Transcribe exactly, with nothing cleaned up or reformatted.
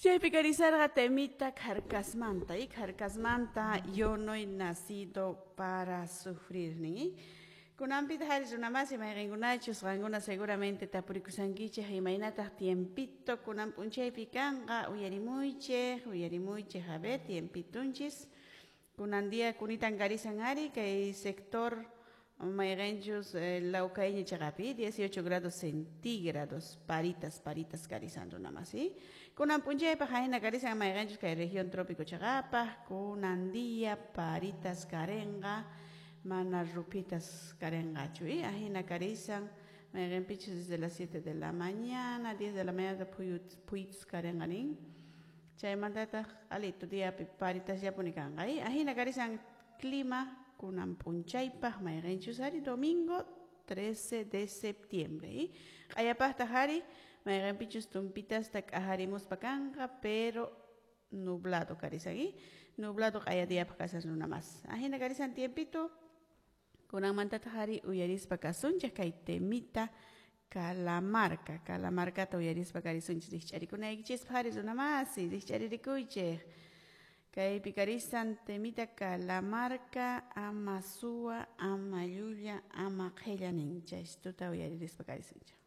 Chaypi karisarqa temita Kharkasmanta y Kharkasmanta, "Yo no he nacido para sufrir" nin. Kunanpitaq ari, runamasi, mayqinkunachus qankuna seguramente tapurikusankichik imaynataq tiempito kunan p'unchaypi kanqa, uyarimuychik, uyarimuychik. A ver, tiempitunchis kunan día kunitan karisan ari kay sector mayqinchus Lawkayña chaqapi dieciocho grados centígrados, paritas paritas karisan, runamasi. Kunan p'unchaypaq ahina karisan mayqinchus kay región trópico chaqapaq kunan día paritas karinqa, mana ruphitas karinqachu. Ahina karisan mayqinpichus desde las siete de la mañana, diez de la mañana phuyutus karinqa nin, chaymantataq q'alito diapi paritasllapuni kanqa. Ahina karisan clima kunan p'unchaypaq mayqinchus ari domingo trece de septiembre. Q'ayapaqtaq ari mayqinpichus tumpitasta k'ajarimuspa kanqa, pero nublado karisan, nublado q'aya diapaq kashan, runamas. Ahina karisan tiempito. Kunanmantataq ari uyarispa kasunchik kay temita Calamarca. Calamarcata uyarispa karisunchik rikch'arikunaykichispaq ari, runamasi, rikch'aririkuychik. Kaypi karisan temita Calamarca, "Ama suwa, ama llulla, ama qhilla" nin. Chaystuta uyaririspa karisunchik.